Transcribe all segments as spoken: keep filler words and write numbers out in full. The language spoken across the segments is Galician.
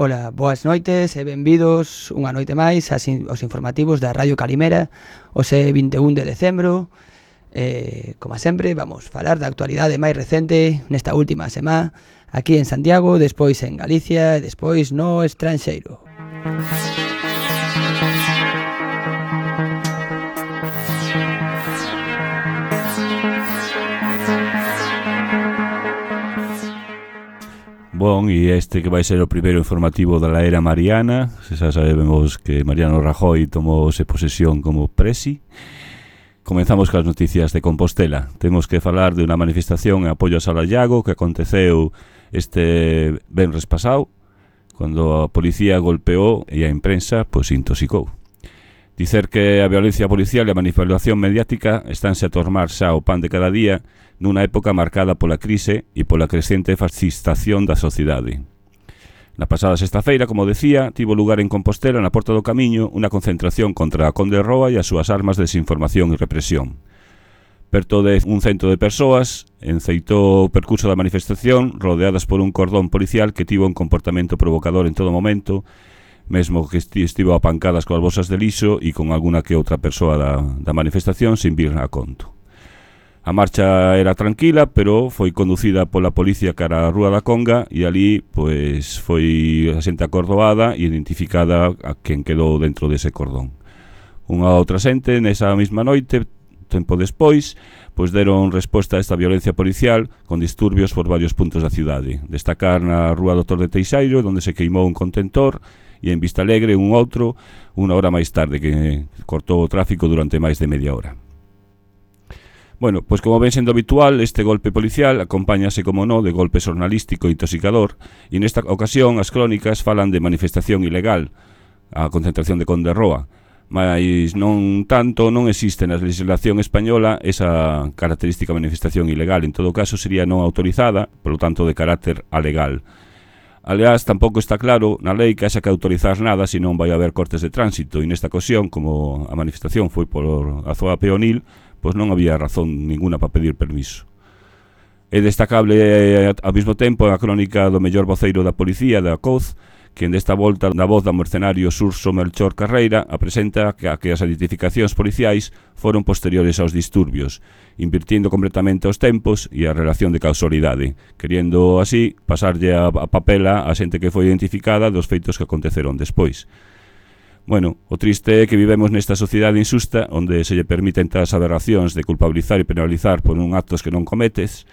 Ola, boas noites e benvidos unha noite máis aos informativos da Radio Calimera, hoxe vinte e un de decembro. Eh, como sempre, vamos falar da actualidade máis recente nesta última semana aquí en Santiago, despois en Galicia e despois no estranxeiro. Bon, e este que vai ser o primeiro informativo da era mariana. Se xa sabemos que Mariano Rajoy tomouse posesión como presi. Comenzamos cas noticias de Compostela. Temos que falar de unha manifestación en apoio a Sala Llago que aconteceu este venres pasado, cando a policía golpeou e a imprensa pois intoxicou. Dicer que a violencia policial e a manipulación mediática estánse a tornar xa o pan de cada día nunha época marcada pola crise e pola crecente fascistación da sociedade. Na pasada sexta-feira, como decía, tivo lugar en Compostela, na Porta do Camiño, unha concentración contra a Conde Roa e as súas armas de desinformación e represión. Perto de un cento de persoas enceitou o percurso da manifestación rodeadas por un cordón policial que tivo un comportamento provocador en todo momento, mesmo que estivo a pancadas coas bolsas de lixo e con alguna que outra persoa da, da manifestación sin vir a conto. A marcha era tranquila, pero foi conducida pola policía cara á Rúa da Conga e ali pois foi a xente acordoada e identificada a quen quedou dentro dese cordón. Unha outra xente nesa mesma noite, tempo despois, pois deron resposta a esta violencia policial con disturbios por varios puntos da cidade. Destacar na Rúa Doutor de Teixeiro, onde se queimou un contentor, e en Vistalegre un outro, unha hora máis tarde, que cortou o tráfico durante máis de media hora. Bueno, pois como ven sendo habitual, este golpe policial acompáñase, como no, de golpe xornalístico e intoxicador, e nesta ocasión as crónicas falan de manifestación ilegal, a concentración de Conde Roa, mas non tanto non existe na legislación española esa característica manifestación ilegal, en todo caso sería non autorizada, polo tanto de carácter alegal. Aliás, tampouco está claro na lei que haxa que autorizar nada se non vai haber cortes de tránsito, e nesta ocasión, como a manifestación foi por a zoa peonil, pois non había razón ninguna para pedir permiso. É destacable ao mesmo tempo a crónica do mellor voceiro da policía, da C O Z, que desta volta na voz do mercenario Surso Melchor Carreira apresenta que, que as identificacións policiais foron posteriores aos disturbios, invirtiendo completamente os tempos e a relación de causalidade, queriendo así pasarlle a, a papela a xente que foi identificada dos feitos que aconteceron despois. Bueno, o triste é que vivemos nesta sociedade injusta onde se lle permiten tas aberracións de culpabilizar e penalizar por un actos que non cometes.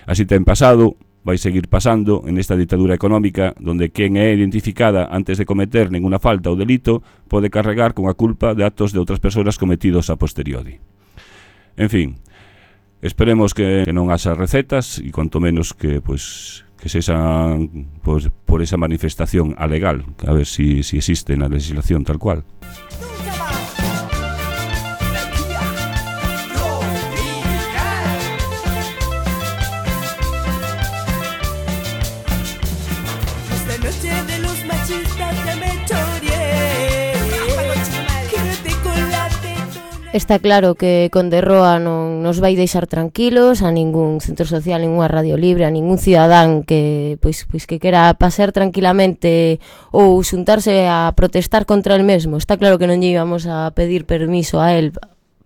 Así ten pasado, vai seguir pasando en esta ditadura económica onde quen é identificada antes de cometer ninguna falta ou delito pode carregar con a culpa de actos de outras persoas cometidos a posteriori. En fin, esperemos que non haxa recetas e cuanto menos que, pois, que sexan pues, por esa manifestación alegal, a ver si, si existe na legislación tal cual. Está claro que Conde Roa non nos vai deixar tranquilos a ningún centro social, ninguna radio libre, a ningún cidadán que pois pois que quera pasear tranquilamente ou xuntarse a protestar contra el mesmo. Está claro que non lle íbamos a pedir permiso a él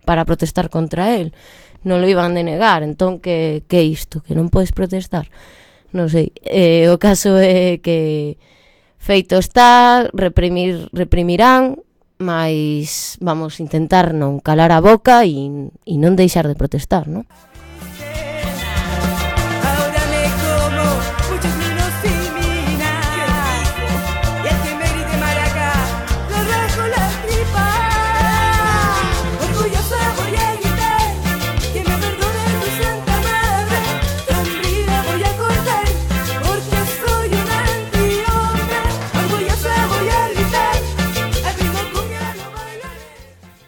para protestar contra él. Non lo iban a negar, entón que que isto, que non podes protestar. Non sei. Eh, o caso é que feito está, reprimir reprimirán, mas vamos intentar non calar a boca e, e non deixar de protestar, non?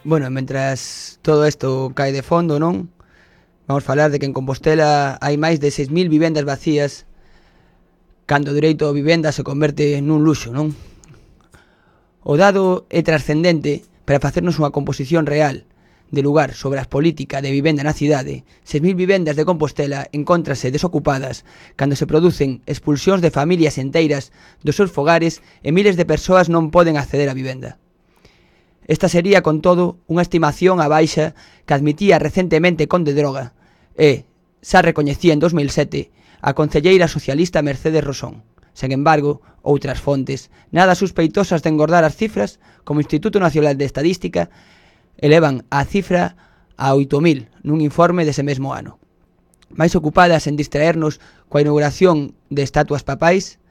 Bueno, mentras todo isto cae de fondo, non? Vamos falar de que en Compostela hai máis de seis mil vivendas vacías cando o direito a vivenda se converte nun luxo, non? O dado é trascendente para facernos unha composición real de lugar sobre as políticas de vivenda na cidade, seis mil vivendas de Compostela encóntrase desocupadas cando se producen expulsións de familias enteiras dos seus fogares e miles de persoas non poden acceder á vivenda. Esta sería, con todo, unha estimación á baixa que admitía recentemente Conde Droga e, xa recoñecía en dos mil sete, a concelleira socialista Mercedes Rosón. Sen embargo, outras fontes, nada suspeitosas de engordar as cifras, como o Instituto Nacional de Estadística, elevan a cifra a oito mil nun informe dese mesmo ano. Mais ocupadas en distraernos coa inauguración de estatuas papais,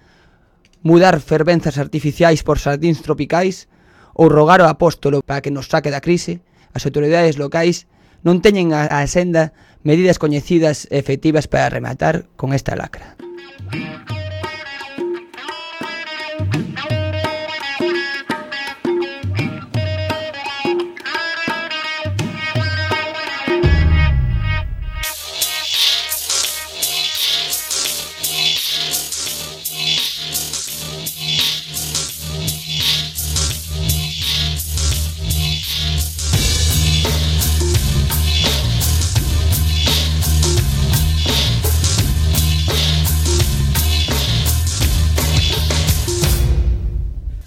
mudar fervenzas artificiais por xardíns tropicais ou rogar ao apóstolo para que nos saque da crise, as autoridades locais non teñen a, a senda medidas coñecidas e efectivas para rematar con esta lacra.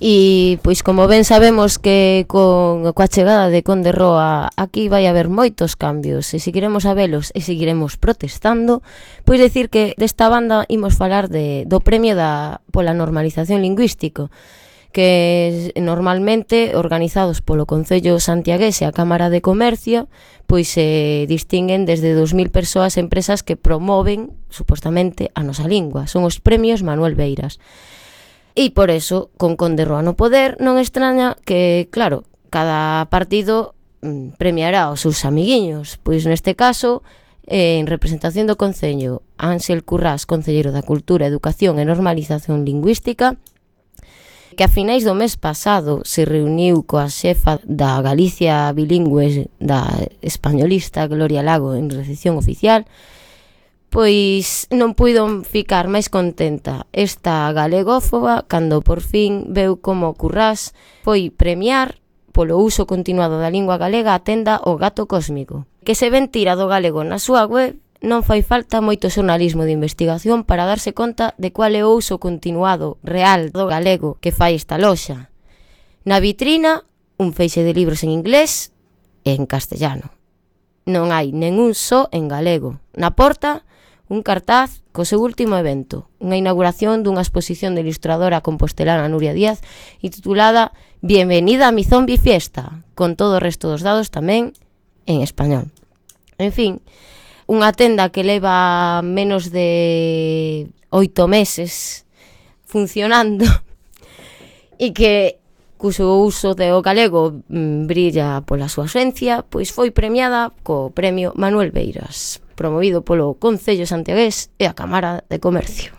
E, pois, como ben sabemos que con coa chegada de Conde Roa aquí vai haber moitos cambios e seguiremos a velos e seguiremos protestando, pois decir que desta banda imos falar de, do premio da, pola normalización lingüístico, que normalmente organizados polo Concello Santiagués e a Cámara de Comercio, pois se distinguen desde dos mil persoas e empresas que promoven, supostamente, a nosa lingua. Son os premios Manuel Beiras. E por eso, con Conde Roa no poder, non extraña que, claro, cada partido mm, premiará aos seus amiguiños. Pois neste caso, eh, en representación do Concello, Ángel Currás, Concelleiro da Cultura, Educación e Normalización Lingüística, que a finais do mes pasado se reuniu coa xefa da Galicia bilingüe da españolista Gloria Lago en recepción oficial, pois non puido ficar máis contenta esta galegófoba cando por fin veu como Currás foi premiar polo uso continuado da lingua galega a tenda O Gato Cósmico. Que se ven tira do galego na súa web, non fai falta moito xornalismo de investigación para darse conta de cual é o uso continuado real do galego que fai esta loxa. Na vitrina, un feixe de libros en inglés e en castellano. Non hai ningún só en galego. Na porta, un cartaz co seu último evento, unha inauguración dunha exposición de ilustradora compostelana Nuria Díaz e titulada Bienvenida a mi zombie fiesta, con todo o resto dos dados tamén en español. En fin, unha tenda que leva menos de oito meses funcionando e que cuso uso do galego mm, brilla pola súa ausencia, pois foi premiada co premio Manuel Beiras, promovido polo Concello Santiagués e a Cámara de Comercio.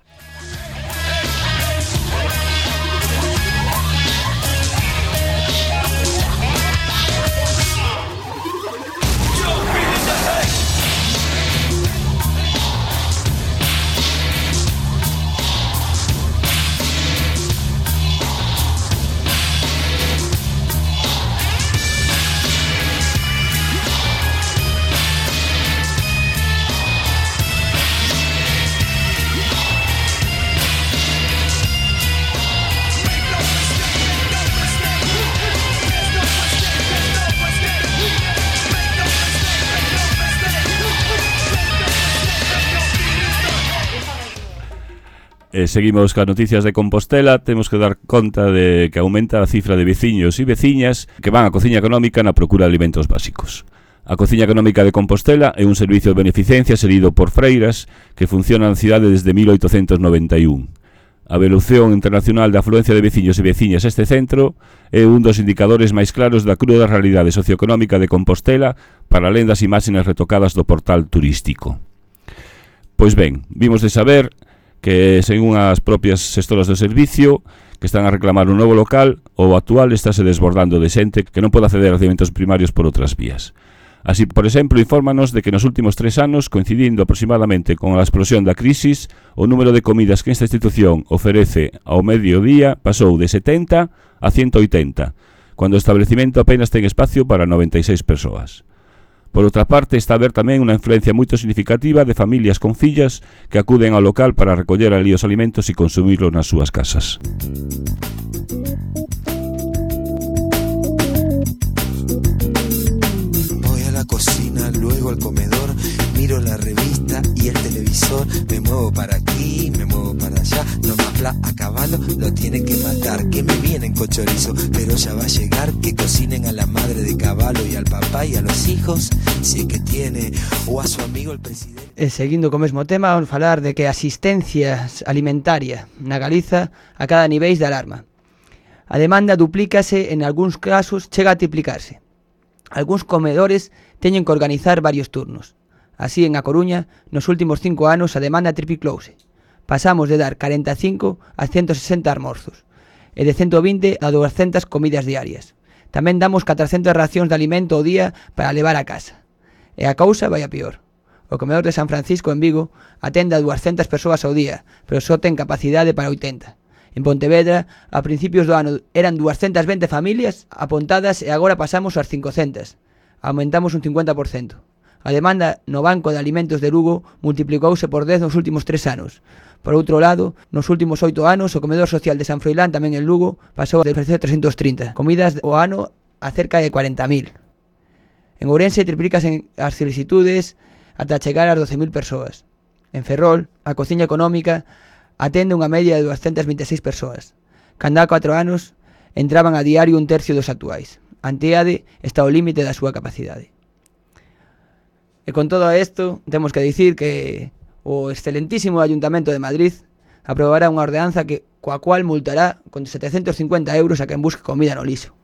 E seguimos cas noticias de Compostela. Temos que dar conta de que aumenta a cifra de veciños e veciñas que van á cociña económica na procura de alimentos básicos. A Cociña Económica de Compostela é un servicio de beneficencia seguido por freiras que funciona na cidade desde mil oitocentos noventa e un. A evolución internacional da afluencia de veciños e veciñas a este centro é un dos indicadores máis claros da cruda realidade socioeconómica de Compostela para alén das imaxes retocadas do portal turístico. Pois ben, vimos de saber que, según as propias xestoras do servicio, que están a reclamar un novo local, o actual estáse desbordando de xente que non pode acceder aos alimentos primarios por outras vías. Así, por exemplo, infórmanos de que nos últimos tres anos, coincidindo aproximadamente con a explosión da crisis, o número de comidas que esta institución oferece ao mediodía pasou de setenta a ciento oitenta, cando o establecimento apenas ten espacio para noventa e seis persoas. Por outra parte, está a haber tamén unha influencia moito significativa de familias con fillas que acuden ao local para recoller ali os alimentos e consumirlos nas súas casas. Cocina, luego al comedor, miro la revista y el televisor, me muevo para aquí, me muevo para allá, no más bla a caballo, lo tienen que matar, que me vienen con chorizo, pero ya va a llegar, que cocinen a la madre de caballo y al papá y a los hijos, si es que tiene, o a su amigo el presidente. E seguindo co mesmo tema, vamos falar de que a asistencia alimentaria na Galiza a cada niveis de alarma. A demanda duplícase, en algúns casos chega a triplicarse. Algúns comedores teñen que organizar varios turnos. Así, en A Coruña, nos últimos cinco anos a demanda tripliclouse. Pasamos de dar cuarenta e cinco a ciento sesenta almorzos e de ciento vinte a doscientas comidas diarias. Tamén damos catrocentas racións de alimento ao día para levar a casa. E a cousa vai a pior. O comedor de San Francisco en Vigo atende a doscientas persoas ao día, pero só ten capacidade para oitenta. En Pontevedra, a principios do ano eran doscientas vinte familias apontadas e agora pasamos ás cincocentas. Aumentamos un cincuenta por cento. A demanda no Banco de Alimentos de Lugo multiplicouse por dez nos últimos tres anos. Por outro lado, nos últimos oito anos, o comedor social de San Froilán, tamén en Lugo, pasou de ofrecer trescentas trinta comidas ao ano a cerca de cuarenta mil. En Ourense triplicasen as solicitudes ata chegar ás doce mil persoas. En Ferrol, a cociña económica atende unha media de doscientas veintiséis persoas. Cando há catro anos, entraban a diario un tercio dos actuais. Anteade está ao límite da súa capacidade. E con todo isto, temos que dicir que o excelentísimo Ayuntamento de Madrid aprobará unha ordenanza que, coa cual multará con setecentos cincuenta euros a quen busque comida no lixo.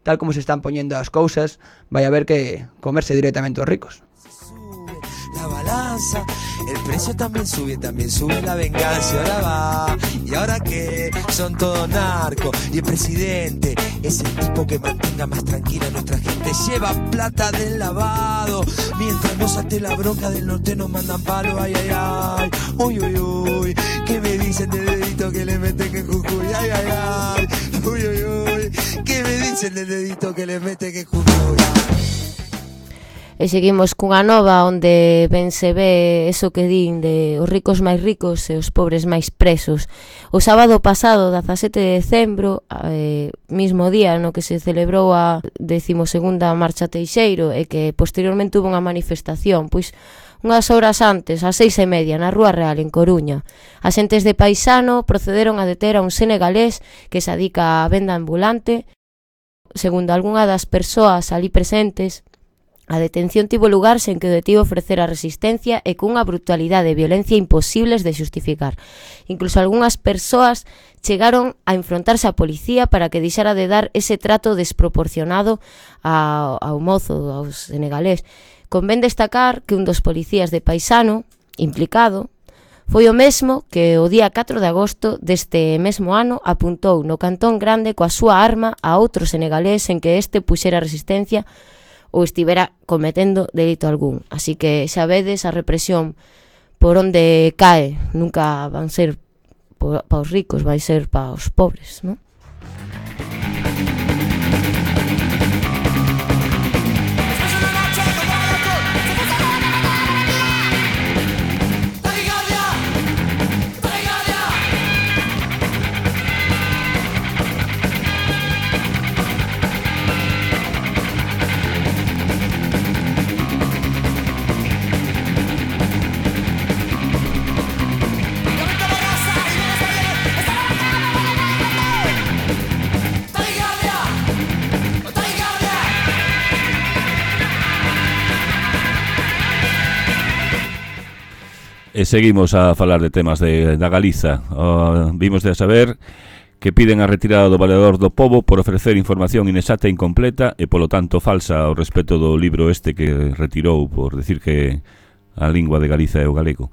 Tal como se están poñendo as cousas, vai haber que comerse directamente os ricos. La balanza, el precio también sube, también sube la venganza. Y ahora va, y ahora que son todos narcos. Y el presidente es el tipo que mantenga más tranquila a nuestra gente. Lleva plata del lavado, mientras nos ate la bronca del norte nos mandan palo. Ay, ay, ay, uy, uy, uy. ¿Qué me dicen del dedito que le meten en Jujuy? Ay, ay, ay, uy, uy, uy. ¿Qué me dicen del dedito que le meten en Jujuy? E seguimos cunha nova onde ben se ve eso que din de os ricos máis ricos e os pobres máis presos. O sábado pasado, dezasete de decembro, eh, mismo día no que se celebrou a decimosegunda Marcha Teixeiro e que posteriormente hubo unha manifestación, pois unhas horas antes, ás seis e media, na Rúa Real, en Coruña. Axentes de Paisano procederon a deter a un senegalés que se adica á venda ambulante. Segundo algunha das persoas ali presentes, a detención tivo lugar sen que o detivo ofrecera resistencia e cunha brutalidade e violencia imposibles de xustificar. Incluso algunhas persoas chegaron a enfrontarse á policía para que deixara de dar ese trato desproporcionado ao, ao mozo, ao senegalés. Convén destacar que un dos policías de Paisano, implicado, foi o mesmo que o día catro de agosto deste mesmo ano apuntou no Cantón Grande coa súa arma a outro senegalés en que este puxera resistencia ou estivera cometendo delito algún. Así que xa vedes a represión por onde cae, nunca van ser para os ricos, vai ser para os pobres, non? E seguimos a falar de temas de, da Galiza. Uh, vimos de saber que piden a retirada do Valedor do Pobo por ofrecer información inexacta e incompleta e, polo tanto, falsa ao respecto do libro este que retirou por decir que a lingua de Galiza é o galego.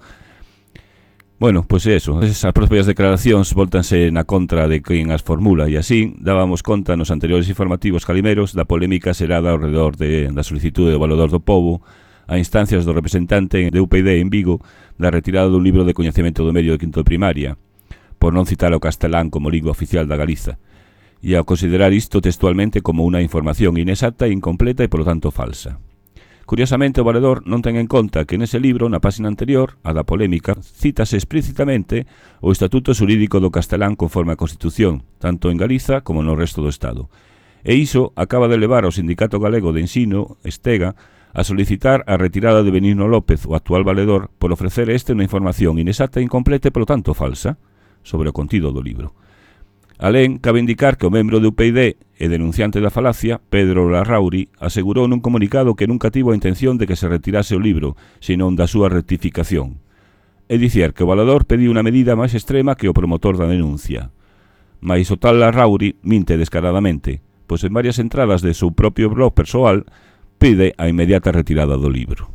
Bueno, pois é eso. Esas propias declaracións voltanse na contra de quen as formula e así dábamos conta nos anteriores informativos calimeros da polémica xerada ao redor de, da solicitude do Valedor do Pobo a instancias do representante de U P D en Vigo da retirada dun libro de coñecemento do medio de quinto de primaria, por non citar o castelán como lingua oficial da Galiza, e ao considerar isto textualmente como unha información inexacta, incompleta e, polo tanto, falsa. Curiosamente, o valedor non ten en conta que nese libro, na páxina anterior, a da polémica, cítase explícitamente o Estatuto Xurídico do Castelán conforme a Constitución, tanto en Galiza como no resto do Estado. E iso acaba de levar ao Sindicato Galego de Ensino, Estega, a solicitar a retirada de Benigno López, o actual valedor, por ofrecer este unha información inexacta e incompleta e, polo tanto, falsa, sobre o contido do libro. Alén, cabe indicar que o membro do U P I D e denunciante da falacia, Pedro Larrauri, asegurou nun comunicado que nunca tivo a intención de que se retirase o libro, senón da súa rectificación. É dicir, que o valedor pediu unha medida máis extrema que o promotor da denuncia. Mais o tal Larrauri minte descaradamente, pois en varias entradas de seu propio blog persoal pide a inmediata retirada do libro.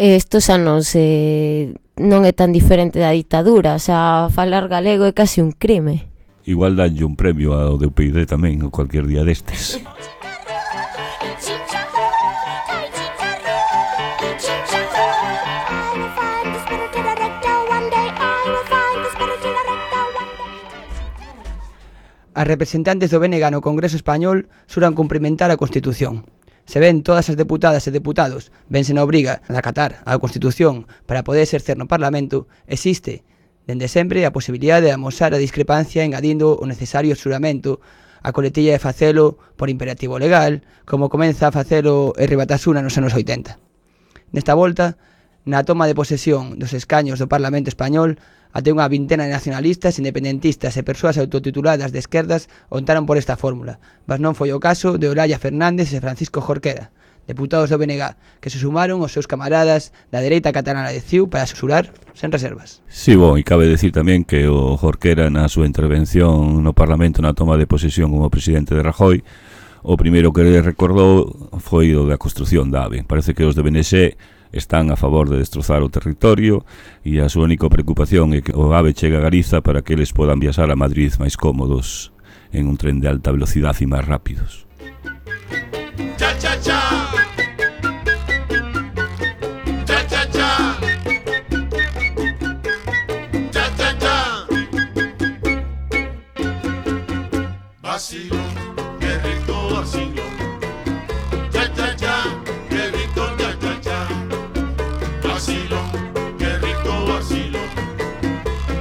Estos anos eh, non é tan diferente da ditadura, xa falar galego é casi un crime. Igual danlle un premio ao de U P I D tamén, ou cualquier día destes. As representantes do B N G no Congreso Español xuran cumprimentar a Constitución. Se ven todas as deputadas e deputados vense na obriga de acatar a Constitución para poder exercer no Parlamento, existe, dende sempre, a posibilidade de amosar a discrepancia engadindo o necesario xuramento a coletilla de facelo por imperativo legal, como comeza a facelo R. Batasuna nos anos oitenta. Nesta volta, na toma de posesión dos escaños do Parlamento Español, até unha vintena de nacionalistas, independentistas e persoas autotituladas de esquerdas optaron por esta fórmula, mas non foi o caso de Olaya Fernández e Francisco Jorquera, deputados do B N G, que se sumaron aos seus camaradas da dereita catalana de C I U para xurar sen reservas. Sí, bon, e cabe decir tamén que o Jorquera na súa intervención no Parlamento na toma de posesión como presidente de Rajoy, o primeiro que recordou foi o da construción da AVE. Parece que os de B N X están a favor de destrozar o territorio e a súa única preocupación é que o AVE chegue a Galiza para que eles podan viaxar a Madrid máis cómodos en un tren de alta velocidade e máis rápidos. Cha, cha, cha. Cha, cha, cha. Cha, cha, cha. Vacilo, qué rico vacilo. Cha, cha, cha. Qué rico, cha, cha, cha. Vacilo, qué rico vacilo.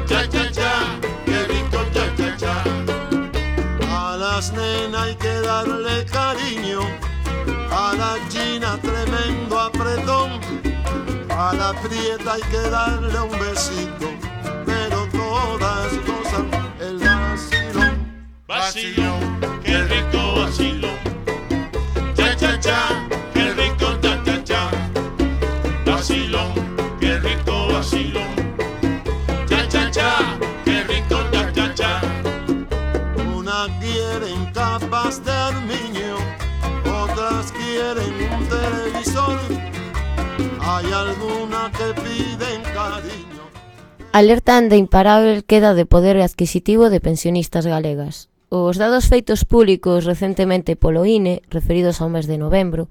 Cha, cha, cha. Qué rico, cha, cha, cha. A las nenas hay que darle cariño, a la china tremendo apretón, a la prieta hay que darle un besito, pero todas gozan el vacilón. Vacilón, qué rico vacilón. Cha, cha, cha, qué rico, cha, cha, cha. Vacilón, qué rico vacilón. Cha, cha, cha, qué rico, cha, cha, cha. Una quieren capas de armiño, otras quieren un televisor, hay alguna que piden cariño. Alertan de imparável queda de poder adquisitivo de pensionistas galegas. Os dados feitos públicos recentemente polo I N E, referidos ao mes de novembro,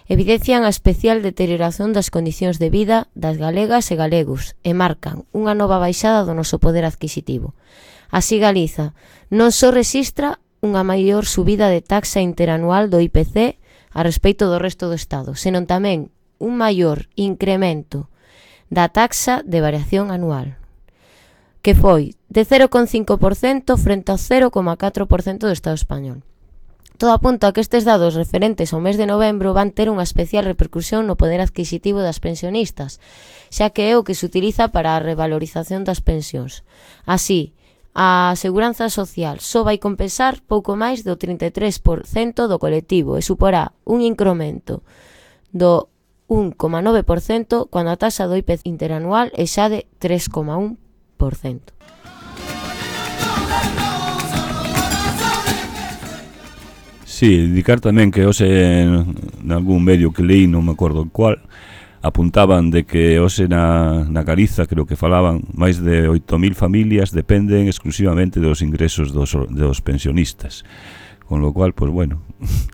evidencian a especial deterioración das condicións de vida das galegas e galegos e marcan unha nova baixada do noso poder adquisitivo. Así Galiza non só rexistra unha maior subida de taxa interanual do I P C a respeito do resto do Estado, senón tamén un maior incremento da taxa de variación anual, que foi de cero coma cinco por cento frente ao cero coma catro por cento do Estado español. Todo apunta a que estes dados referentes ao mes de novembro van ter unha especial repercusión no poder adquisitivo das pensionistas, xa que é o que se utiliza para a revalorización das pensións. Así, a seguranza social só vai compensar pouco máis do trinta e tres por cento do colectivo e suporá un incremento do un coma nove por cento cando a taxa do I P C interanual é xa de tres coma un por cento. Sí, indicar tamén que hoxe en algún medio que leí, non me acordo cuál, apuntaban de que hoxe na, na Galiza, creo que falaban, máis de oito mil familias dependen exclusivamente dos ingresos dos, dos pensionistas. Con lo cual, pues bueno,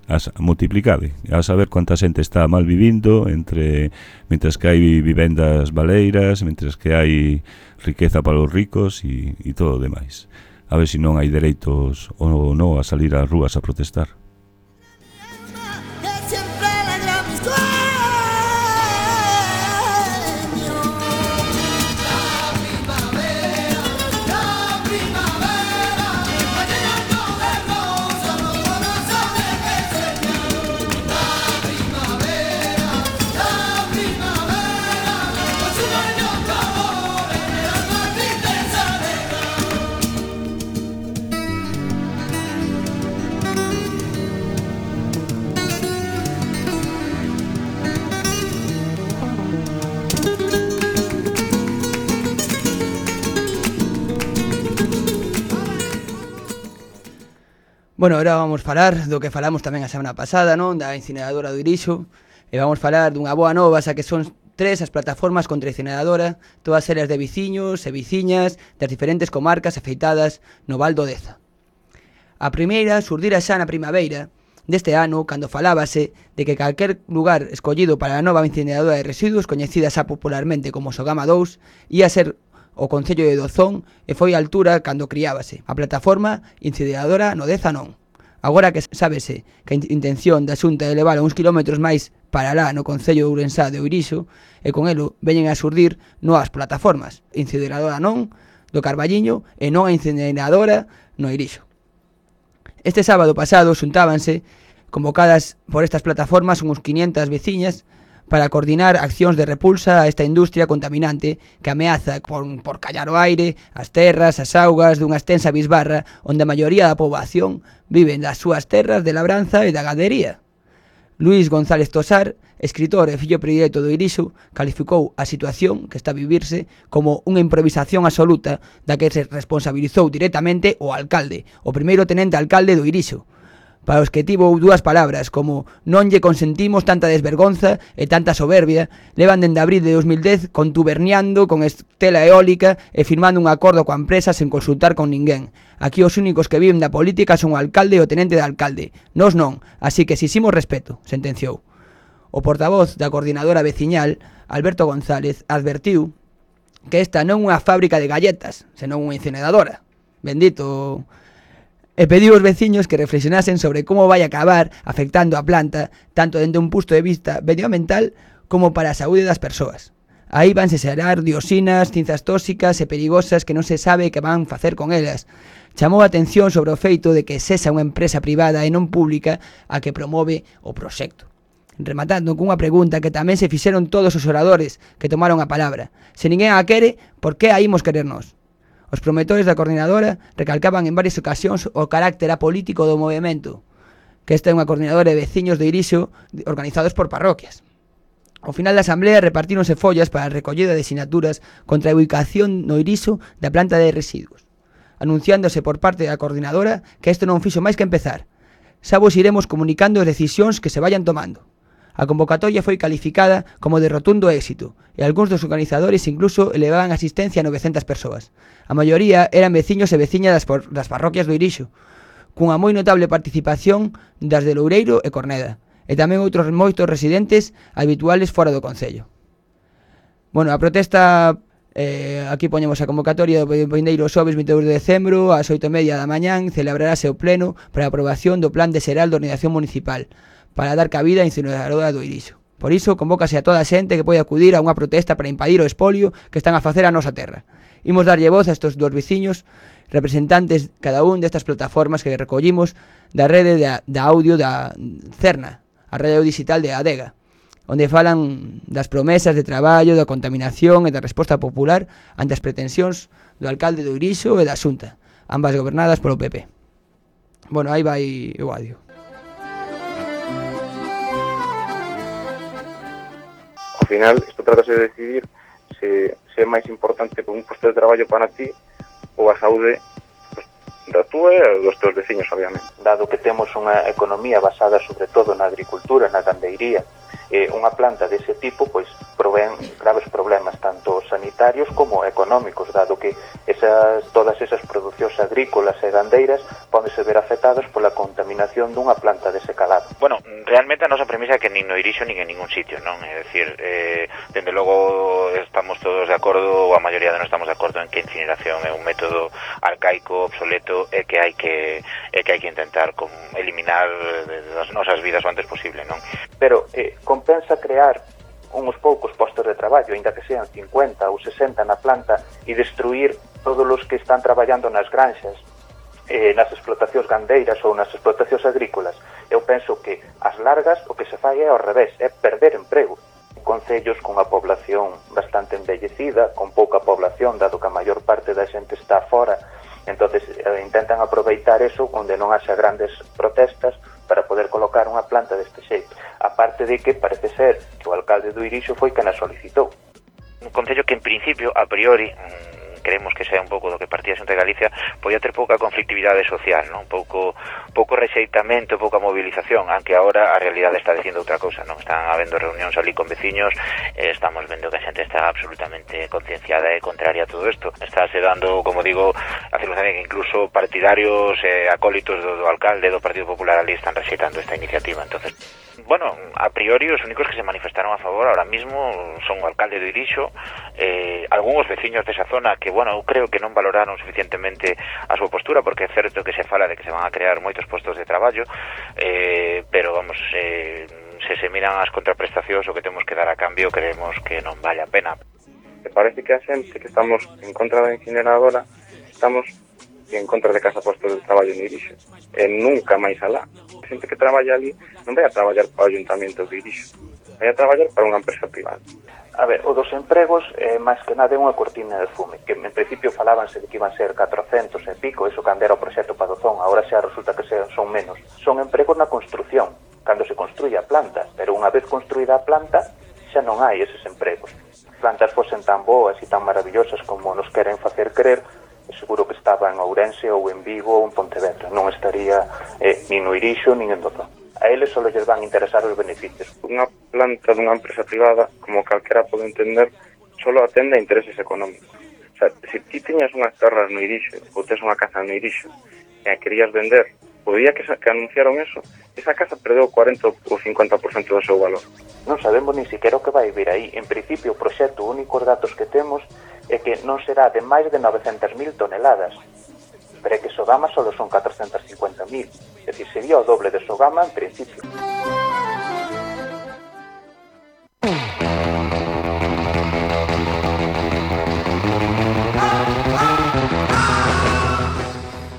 as, multiplicade, a saber cuánta xente está mal vivindo, entre mientras que hai vivendas baleiras, mientras que hai riqueza para os ricos e, e todo o demais. A ver se non hai dereitos ou non a salir ás rúas a protestar. Bueno, ahora vamos falar do que falamos tamén a semana pasada, non? Da incineradora do Irixo. E vamos falar dunha boa nova, xa que son tres as plataformas contra a incineradora, todas elas de viciños e viciñas das diferentes comarcas afeitadas no Val do Deza. A primeira xurdira xa na primaveira deste ano, cando falábase de que calquer lugar escollido para a nova incineradora de residuos, coñecida xa popularmente como Sogama dous, ia ser o Concello de Dozón e foi a altura cando criábase a plataforma incineradora no Deza non. Agora que sábese que a intención da Xunta é levar uns kilómetros máis para lá no Concello de Ourensá de Oirixo, e con elo veñen a xurdir novas plataformas, incineradora non do Carballiño e non a incineradora no Irixo. Este sábado pasado xuntábanse, convocadas por estas plataformas, uns quinientas veciñas para coordinar accións de repulsa a esta industria contaminante que ameaza por, por callar o aire, as terras, as augas dunha extensa bisbarra onde a maioría da poboación viven das súas terras de labranza e da ganadería. Luís González Tosar, escritor e fillo predilecto do Irixo, calificou a situación que está a vivirse como unha improvisación absoluta da que se responsabilizou directamente o alcalde, o primeiro tenente alcalde do Irixo, para os que tivo dúas palabras como non lle consentimos tanta desvergonza e tanta soberbia, levan dende abril de dos mil dez contuberniando con estela eólica e firmando un acordo coa empresa sen consultar con ninguén. Aquí os únicos que viven da política son o alcalde e o tenente de alcalde, nós non, así que exiximos respeto, sentenciou. O portavoz da coordinadora veciñal, Alberto González, advertiu que esta non é unha fábrica de galletas, senón unha incineradora. Bendito... E pediu aos veciños que reflexionasen sobre como vai acabar afectando a planta tanto dende un punto de vista medioambiental como para a saúde das persoas. Aí vanse xerar dioxinas, cinzas tóxicas e perigosas que non se sabe que van facer con elas. Chamou a atención sobre o feito de que sexa unha empresa privada e non pública a que promove o proxecto. Rematando cunha pregunta que tamén se fixeron todos os oradores que tomaron a palabra. Se ninguén a quere, por que a imos querer nós? Os promotores da coordinadora recalcaban en varias ocasións o carácter apolítico do movimento, que esta é unha coordinadora de veciños de Irixo organizados por parroquias. Ao final da asamblea repartíronse follas para a recollida de sinaturas contra a ubicación no Irixo da planta de residuos, anunciándose por parte da coordinadora que isto non fixo máis que empezar. Xa vos iremos comunicando as decisións que se vayan tomando. A convocatoria foi calificada como de rotundo éxito e algúns dos organizadores incluso elevaban asistencia a novecentas persoas. A maioría eran veciños e veciñas das, por, das parroquias do Irixo, cunha moi notable participación das de Loureiro e Corneda, e tamén outros moitos residentes habituales fora do concello. Bueno, a protesta, eh, aquí poñemos a convocatoria do vindeiro xoves vinte e dous de decembro ás oito e media da mañán, celebrarase o pleno para a aprobación do Plan de Xeral de Organización Municipal para dar cabida á incineradora do Irixo. Por iso, convócase a toda a xente que pode acudir a unha protesta para impedir o espolio que están a facer a nosa terra. Imos darlle voz a estes dos veciños, representantes cada un destas plataformas que recollimos da rede da, da audio da Cerna, a radio digital de Adega, onde falan das promesas de traballo, da contaminación e da resposta popular ante as pretensións do alcalde do Irixo e da Xunta, ambas gobernadas polo P P. Bueno, aí vai o audio. Ao final, isto tratase de decidir se, se é máis importante un posto de traballo para ti ou a saúde pues, da túa e dos teus veciños, obviamente. Dado que temos unha economía basada sobre todo na agricultura, na gandeiría eh, unha planta dese tipo pois provén graves problemas tanto sanitarios como económicos, dado que esas, todas esas producións agrícolas e gandeiras pódense ver afectadas pola contaminación dunha planta dese calado. Bueno, realmente a nosa premisa é que nin no Irixo nin en ningún sitio, non? É dicir, eh, dende logo estamos todos de acordo, ou a maioría de nós estamos de acordo en que a incineración é un método arcaico, obsoleto, e que hai que e que hai que intentar con, eliminar das nosas vidas o antes posible, non? Pero eh, compensa crear uns poucos postos de traballo, ainda que sean cincuenta ou sesenta na planta, e destruir todos os que están traballando nas granxas, eh, nas explotacións gandeiras ou nas explotacións agrícolas. Eu penso que as largas o que se fai é ao revés, é perder emprego. Concellos con a población bastante envellecida, con pouca población, dado que a maior parte da xente está fora, entonces eh, intentan aproveitar eso onde non haxa grandes protestas para poder colocar unha planta deste xeito. Aparte de que parece ser que o alcalde do Irixo foi quen a solicitou. Un concello que en principio, a priori, creemos que sea un pouco do que partía Xunta de Galicia, podía ter pouca conflictividade social, non? Pouco pouco rexeitamento, pouca movilización, aunque agora a realidade está dicindo outra cousa, non? Están habendo reunións ali con veciños, eh, estamos vendo que a xente está absolutamente concienciada e contraria a todo isto. Está se dando, como digo, a circunstancia que incluso partidarios e eh, acólitos do, do alcalde do Partido Popular ali están rexeitando esta iniciativa. Entonces, bueno, a priori os únicos que se manifestaron a favor ahora mismo son o alcalde do Irixo, eh, algúns veciños desa zona que, bueno, eu creo que non valoraron suficientemente a súa postura, porque é certo que se fala de que se van a crear moitos postos de traballo, eh, pero, vamos, eh, se se miran as contraprestacións o que temos que dar a cambio, creemos que non vale a pena. Me parece que a xente que estamos en contra da incineradora estamos en contra de casa postos de traballo no Irixo, e nunca máis alá. A xente que traballa ali non vai a traballar para o Ayuntamento do Irixo, vai a traballar para unha empresa privada. A ver, o dos empregos é máis que nada unha cortina de fume, que en principio falábanse de que iban a ser catrocentos e pico, eso cando era o proxecto Padozón, agora xa resulta que son menos. Son empregos na construción, cando se construye a planta, pero unha vez construída a planta, xa non hai eses empregos. Plantas fosen tan boas e tan maravillosas como nos queren facer creer, seguro que estaba en Ourense ou en Vigo ou en Pontevedra, non estaría eh, nin no Irixo nin en Dozón. A eles só lles van interesar os beneficios. Unha planta dunha empresa privada, como calquera pode entender, solo atende a intereses económicos. O sea, se ti tiñas unhas terras no Irixo ou tes unha casa no Irixo e a querías vender, o día que, que anunciaron eso, esa casa perdeu o cuarenta ou cincuenta por cento do seu valor. Non sabemos ni siquiera o que vai vir aí. En principio, o proxecto, os únicos datos que temos é que non será de máis de novecentas mil toneladas, pero é que Sogama só son catrocentas cincuenta mil, é dicir, sería o doble de Sogama en principio.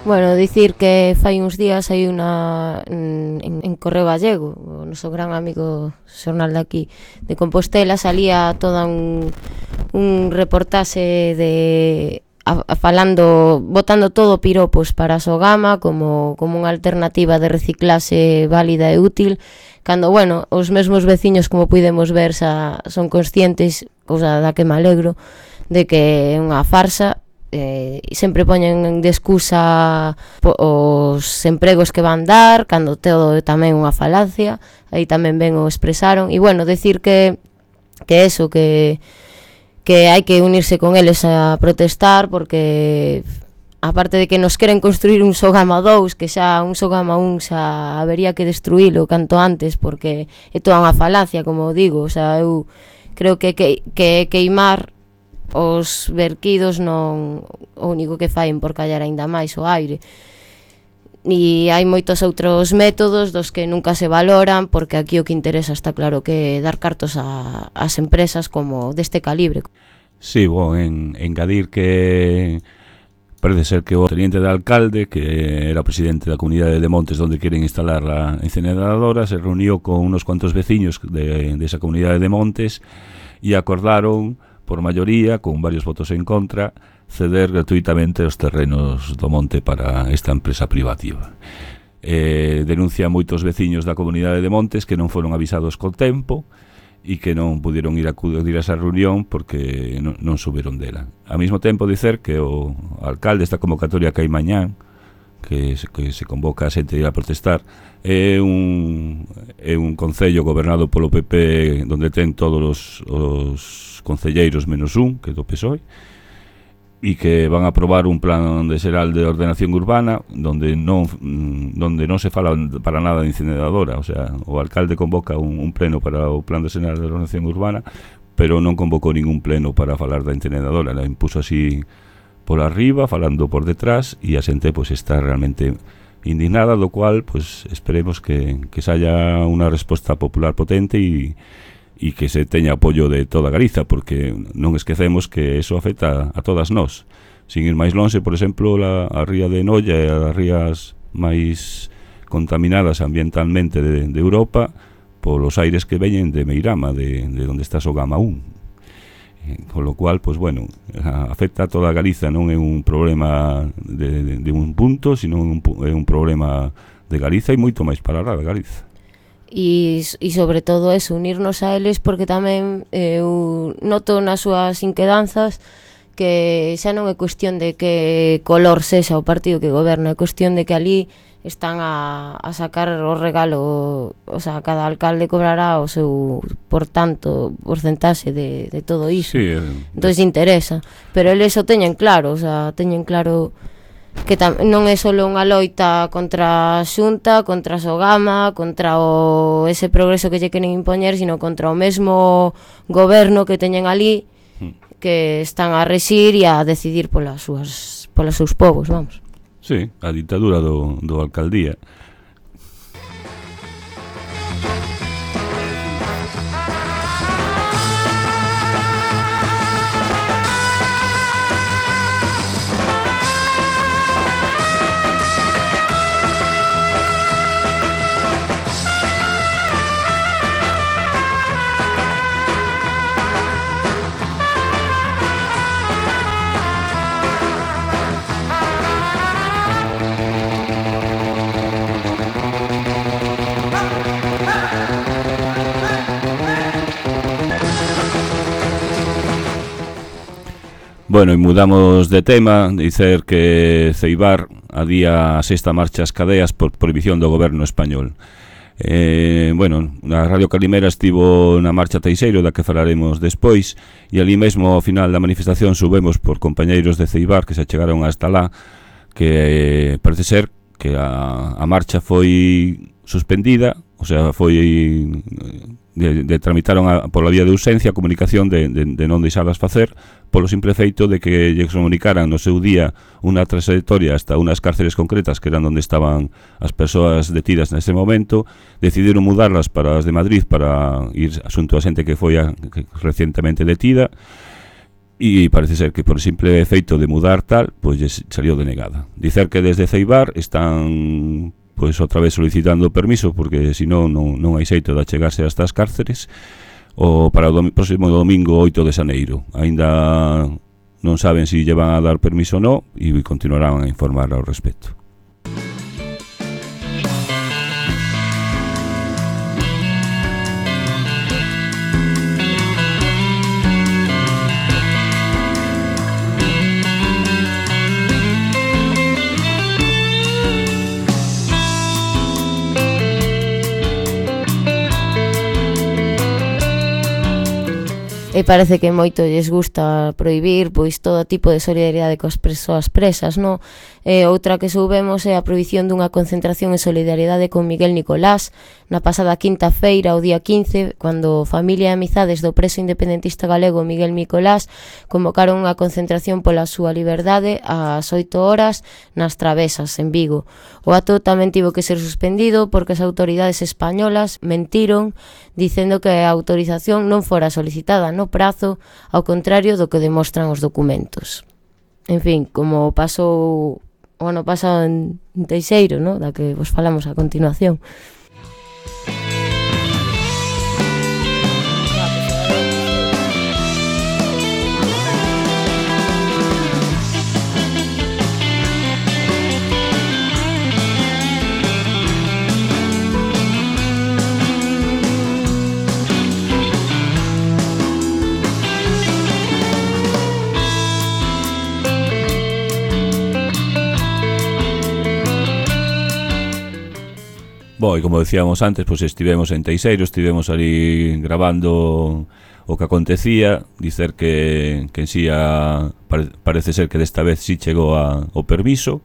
Bueno, dicir que fai uns días hai unha en, en Correo Gallego, o noso gran amigo xornal de aquí de Compostela, salía toda un, un reportaxe de a, a falando, botando todo piropos para a Sogama como, como unha alternativa de reciclase válida e útil, cando, bueno, os mesmos veciños, como podemos ver, xa son conscientes, cousa da que me alegro, de que é unha farsa. Eh, sempre poñen de excusa os empregos que van dar, cando todo é tamén unha falacia. Aí tamén ben o expresaron. E bueno, decir que que eso, que que hai que unirse con eles a protestar, porque aparte de que nos queren construir un Sogama dous, que xa un Sogama un xa habería que destruílo canto antes, porque é toda unha falacia, como digo. O sea, eu creo que que, que queimar os verquidos non o único que faen por callar aínda máis o aire. E hai moitos outros métodos dos que nunca se valoran, porque aquí o que interesa está claro que dar cartos a, as empresas como deste calibre. Sí, bueno, en, engadir que parece ser que o teniente de alcalde, que era o presidente da comunidade de Montes onde queren instalar a incineradora, se reuniu con unos cuantos veciños de, de esa comunidade de Montes e acordaron por maioría, con varios votos en contra, ceder gratuitamente os terrenos do monte para esta empresa privativa. Eh, denuncia moitos veciños da comunidade de Montes que non foron avisados co tempo e que non puderon ir a acudir a esa reunión porque non, non suberon dela. Ao mesmo tempo dicer que o alcalde esta convocatoria que hai mañán que se, que se convoca a xente a protestar. É un, é un concello gobernado polo P P donde ten todos os, os concelleiros menos un, que é do P S O E, e que van a aprobar un plan de xeral de ordenación urbana donde non donde non se fala para nada de incineradora. O sea, o alcalde convoca un, un pleno para o plan de xeral de ordenación urbana, pero non convocou ningún pleno para falar da incineradora. La impuso así por arriba, falando por detrás, e a xente pois está realmente indignada, do cual pois esperemos que, que saia unha resposta popular potente e e que se teña apoio de toda Galiza, porque non esquecemos que eso afecta a todas nós. Sin ir máis lonxe, por exemplo, la, a ría de Noia e as rías máis contaminadas ambientalmente de, de Europa polos aires que veñen de Meirama, de, de onde está Sogama un. Eh, con lo cual, pues bueno, afecta a toda Galiza, non é un problema de, de, de un punto, sino un, é un problema de Galiza e moito máis para a Galiza. E, e sobre todo eso, unirnos a eles, porque tamén eu noto nas súas inquedanzas que xa non é cuestión de que color sexa o partido que goberna, é cuestión de que ali están a, a sacar o regalo, o sea, cada alcalde cobrará o seu, por tanto, porcentaxe de, de todo iso. Sí, eh, entón interesa, pero eles o teñen claro, o sea, teñen claro que tam- non é só unha loita contra a Xunta, contra a Sogama, contra o ese progreso que lle queren impoñer, sino contra o mesmo goberno que teñen ali, que están a rexir e a decidir polas súas polos seus povos, vamos. Sí, a ditadura do, do alcaldía. Bueno, e mudamos de tema, dicer que Ceibar adía a sexta marcha ás cadeas por prohibición do goberno español. Eh, bueno, a Radio Calimera estivo na marcha Teixeiro, da que falaremos despois, e ali mesmo ao final da manifestación subemos por compañeiros de Ceibar que se chegaron hasta lá, que eh, parece ser que a, a marcha foi suspendida, o sea, foi de, de tramitaron a, pola vía de urxencia a comunicación de, de, de non deixarlas facer polo simple feito de que lles comunicaran no seu día unha trayectoria hasta unas cárceles concretas que eran onde estaban as persoas detidas nese momento. Decidiron mudarlas para as de Madrid para ir asunto a xente que foi a, que recientemente detida, e parece ser que por simple feito de mudar tal, pois lles salió denegada. Dicer que desde Ceibar están pois outra vez solicitando permiso, porque senón non, non hai xeito de achegarse a estas cárceres, o para o dom- próximo domingo oito de xaneiro. Aínda non saben se si llevan a dar permiso ou non, e continuarán a informar ao respecto. E parece que moito lles gusta prohibir pois todo tipo de solidariedade coas persoas presas, no? E outra que soubemos é a prohibición dunha concentración en solidariedade con Miguel Nicolás na pasada quinta feira, o día quince, cando familia e amizades do preso independentista galego Miguel Nicolás convocaron unha concentración pola súa liberdade ás oito horas nas Travesas, en Vigo. O acto tamén tivo que ser suspendido porque as autoridades españolas mentiron dicendo que a autorización non fora solicitada no prazo, ao contrario do que demostran os documentos. En fin, como pasou o ano pasado en Teixeiro, ¿no?, da que vos falamos a continuación. Bo, e como decíamos antes, pois estivemos en Teixeiro, estivemos ali grabando o que acontecía, dicer que, que en sí a, pare, parece ser que desta vez sí chegou a, o permiso,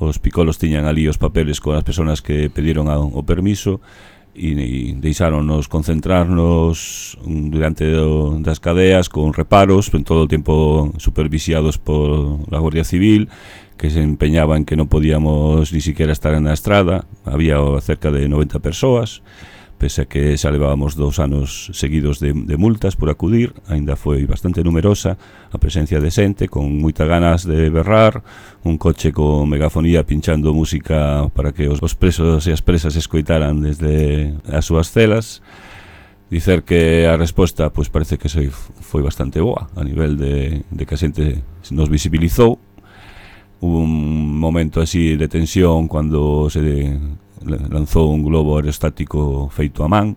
os picolos tiñan ali os papeles con as persoas que pediron a, o permiso, e, e deixáronos concentrarnos durante do, das cadeas con reparos, en todo o tempo supervisiados por la Guardia Civil, que se empeñaba en que non podíamos ni siquiera estar na estrada. Había cerca de noventa persoas, pese a que xa levábamos dous anos seguidos de, de multas por acudir. Ainda foi bastante numerosa a presencia de xente, con moitas ganas de berrar, un coche con megafonía pinchando música para que os, os presos e as presas escoitaran desde as súas celas. Dicer que a resposta pois parece que foi bastante boa a nivel de, de que a xente nos visibilizou. Hubo un momento así de tensión cando se lanzou un globo aerostático feito a man,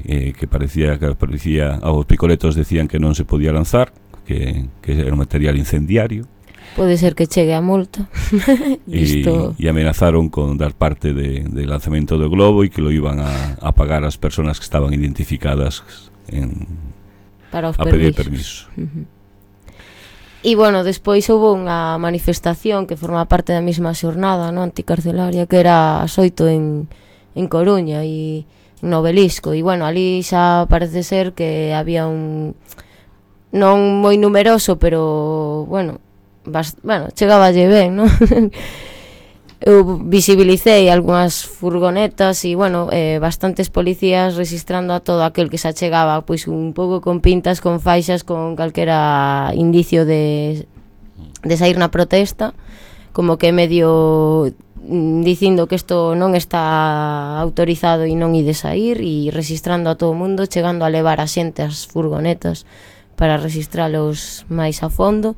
eh, que parecía que parecía aos picoletos decían que non se podía lanzar, que, que era un material incendiario. Pode ser que chegue a multa. E, e amenazaron con dar parte de, de lanzamento do globo e que lo iban a, a pagar as persoas que estaban identificadas en, para os a pedir permiso. Uh-huh. E, bueno, despois houve unha manifestación que forma parte da mesma xornada, no, anticarcelaria, que era as oito en, en Coruña e en Obelisco. E, bueno, ali xa parece ser que había un... non moi numeroso, pero, bueno, bast... bueno, chegaballe ben, non? Eu visibilicei algunhas furgonetas e, bueno, eh, bastantes policías registrando a todo aquel que se achegaba, pois un pouco con pintas, con faixas, con calquera indicio de, de sair na protesta, como que medio mm, dicindo que isto non está autorizado e non ide sair, e registrando a todo o mundo, chegando a levar a xente as furgonetas para registralos máis a fondo.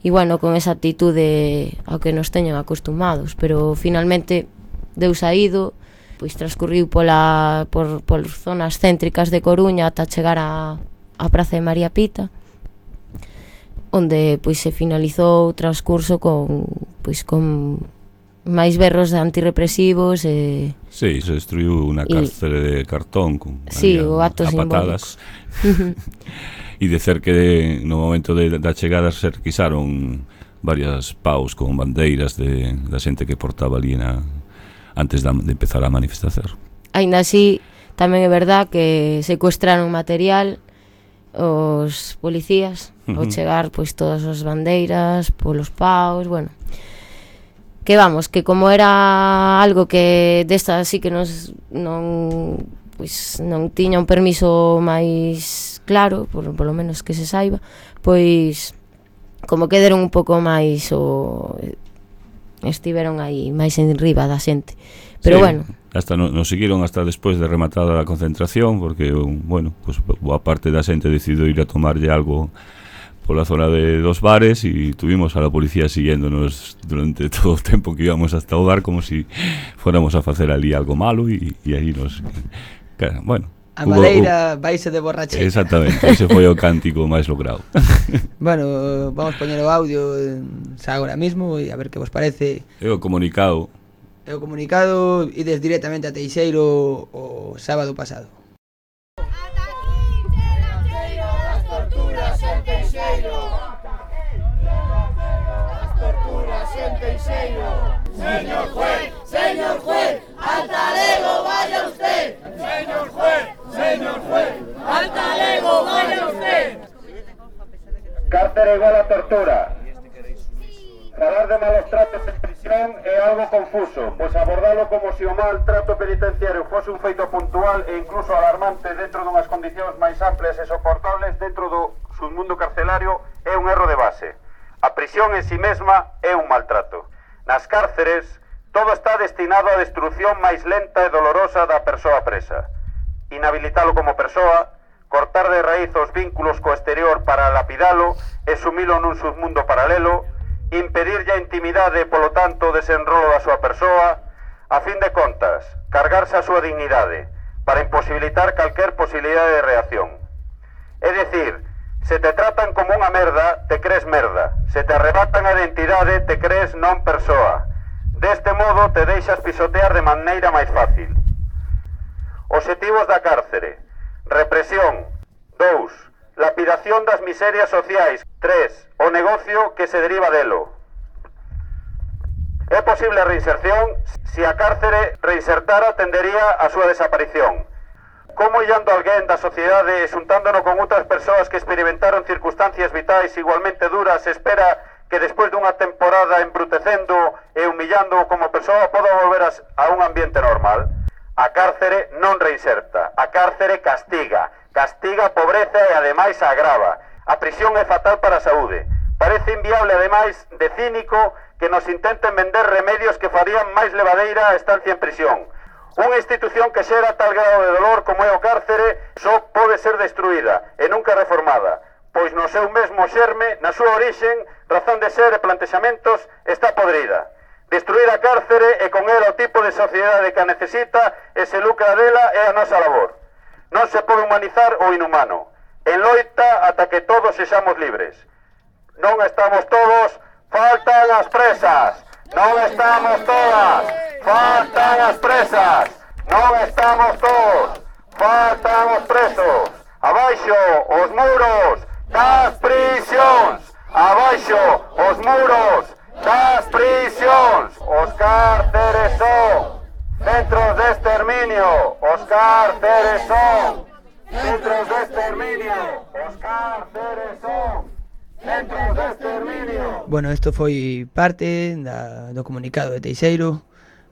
E, bueno, con esa actitude ao que nos teñen acostumados, pero finalmente deu saído, pois transcurriu pola, por, por zonas céntricas de Coruña ata chegar a, a Praza de María Pita, onde pois se finalizou o transcurso con, pois, con máis berros antirrepresivos e... Sí, se destruiu unha cárcere de cartón con sí, o acto a patadas. E dicer que no momento de, da chegada se requisaron varias paus con bandeiras de, da xente que portaba ali na, antes da, de empezar a manifestar. Ainda así, tamén é verdad que secuestraron material os policías uh-huh. ao chegar pois todas as bandeiras polos paus, bueno, que vamos, que como era algo que desta así que nos non pois non tiña un permiso máis claro, por, por lo menos que se saiba, pois como que deron un pouco máis o estiveron aí máis en riba da xente. Pero sí, bueno, hasta no, nos seguiron hasta despois de rematada a concentración, porque bueno, pues boa parte da xente decidiu ir a tomarlle algo pola zona de dos bares e tuvimos a la policía siguiéndonos durante todo o tempo que íbamos hasta o bar, como si fóramos a facer ali algo malo e, e aí nos... Bueno, a madeira vaise de borracheira. Exactamente, ese foi o cántico máis logrado. Bueno, vamos poñer o audio xa agora mismo e a ver que vos parece. É o comunicado. É o comunicado, ides directamente a Teixeiro o sábado pasado. Ata aquí, Teixeiro, as torturas en Teixeiro. As torturas en Teixeiro. Señor juez, señor juez, al talego vaya usted. Señor juez, señor juez, al talego vaya usted. Cárcere igual a tortura. Falar de malos tratos en prisión é algo confuso, pois abordalo como se o maltrato penitenciario fose un feito puntual e incluso alarmante dentro dunhas condicións máis amplias e soportables dentro do submundo carcelario é un erro de base. A prisión en si mesma é un maltrato. Nas cárceres, todo está destinado á destrucción máis lenta e dolorosa da persoa presa. Inhabilitalo como persoa, cortar de raíz os vínculos co exterior para lapidalo e sumilo nun submundo paralelo, impedirlle a intimidade e, polo tanto, o desenrolo da súa persoa, a fin de contas, cargarse a súa dignidade, para imposibilitar calquer posibilidade de reacción. É dicir, se te tratan como unha merda, te crees merda. Se te arrebatan a identidade, te crees non persoa. Deste modo te deixas pisotear de maneira máis fácil. Obxectivos da cárcere: represión. Dous. Lapidación das miserias sociais. Tres. O negocio que se deriva delo. É posible a reinserción se a cárcere reinsertara tendería a súa desaparición. Como illando alguén da sociedade e xuntándono con outras persoas que experimentaron circunstancias vitais igualmente duras, espera que despois dunha temporada embrutecendo e humillando como persoa poda volver a un ambiente normal? A cárcere non reinserta, a cárcere castiga, castiga a pobreza e ademais a agrava. A prisión é fatal para a saúde. Parece inviable ademais de cínico que nos intenten vender remedios que farían máis levadeira a estancia en prisión. Unha institución que xera tal grado de dolor como é o cárcere só pode ser destruída e nunca reformada, pois no seu mesmo xerme, na súa orixen, razón de ser e plantexamentos, está podrida. Destruir a cárcere e con ela o tipo de sociedade que a necesita e se lucra dela é a nosa labor. Non se pode humanizar o inhumano. En loita ata que todos sexamos libres. Non estamos todos, faltan as presas. Non estamos todas, faltan as presas. Non estamos todos, faltan os presos. Abaixo os muros das prisións. Abaixo os muros das prisións. Os cárceres son centros de exterminio. Os cárceres son centros de exterminio. Os cárceres son centros de exterminio. Bueno, isto foi parte da, do comunicado de Teixeiro.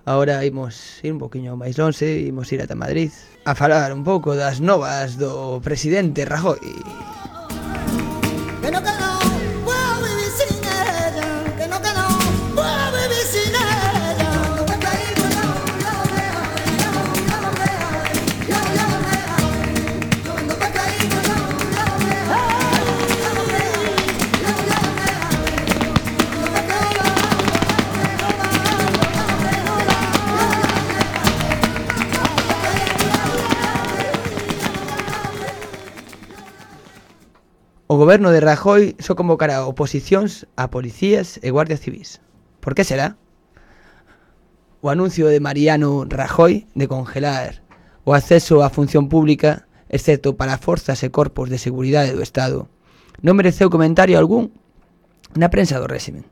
Agora imos ir un poquinho máis lonxe, imos ir ata Madrid a falar un pouco das novas do presidente Rajoy. Que no, que no, puedo vivir sin ella, que no, que no, puedo vivir sin ella. O goberno de Rajoy só convocará oposicións a policías e guardias civís. Por que será? O anuncio de Mariano Rajoy de congelar o acceso á función pública, excepto para forzas e corpos de seguridade do Estado, non mereceu comentario algún na prensa do réximen.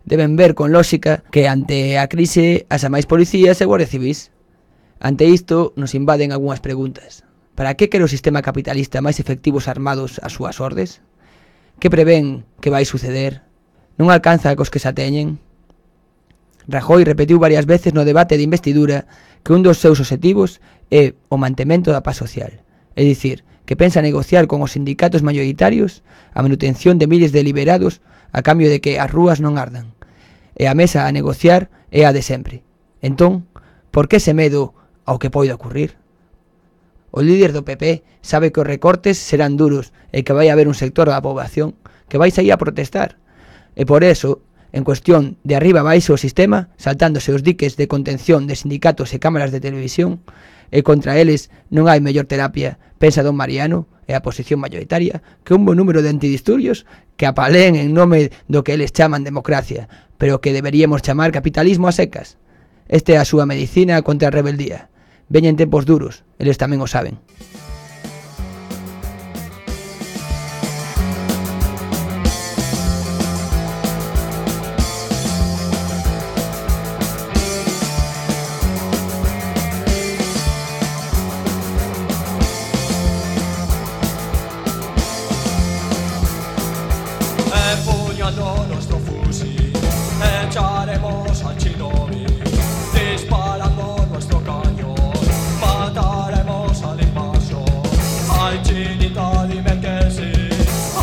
Deben ver con lógica que ante a crise as máis policías e guardias civís. Ante isto nos invaden algunhas preguntas. Para que quere o sistema capitalista máis efectivos armados ás súas ordes? Que prevén que vai suceder? Non alcanza cos que xa teñen? Rajoy repetiu varias veces no debate de investidura que un dos seus obxectivos é o mantemento da paz social. É dicir, que pensa negociar con os sindicatos maioritarios a manutención de miles de liberados a cambio de que as rúas non ardan. E a mesa a negociar é a de sempre. Entón, por que ese medo ao que pode ocurrir? O líder do P P sabe que os recortes serán duros e que vai haber un sector da poboación que vai sair a protestar. E por eso, en cuestión de arriba baixo o sistema, saltándose os diques de contención de sindicatos e cámaras de televisión, e contra eles non hai mellor terapia, pensa don Mariano e a posición mayoritaria, que un bon número de antidisturbios que apaleen en nome do que eles chaman democracia, pero que deberíamos chamar capitalismo a secas. Esta é a súa medicina contra a rebeldía. Veñen tempos duros, eles tamén o saben. Empuñando nuestro fusil, echaremos al Chinobi, disparando nuestro cañón. Mataremos al invasor. Ay, chinita, dime que sí.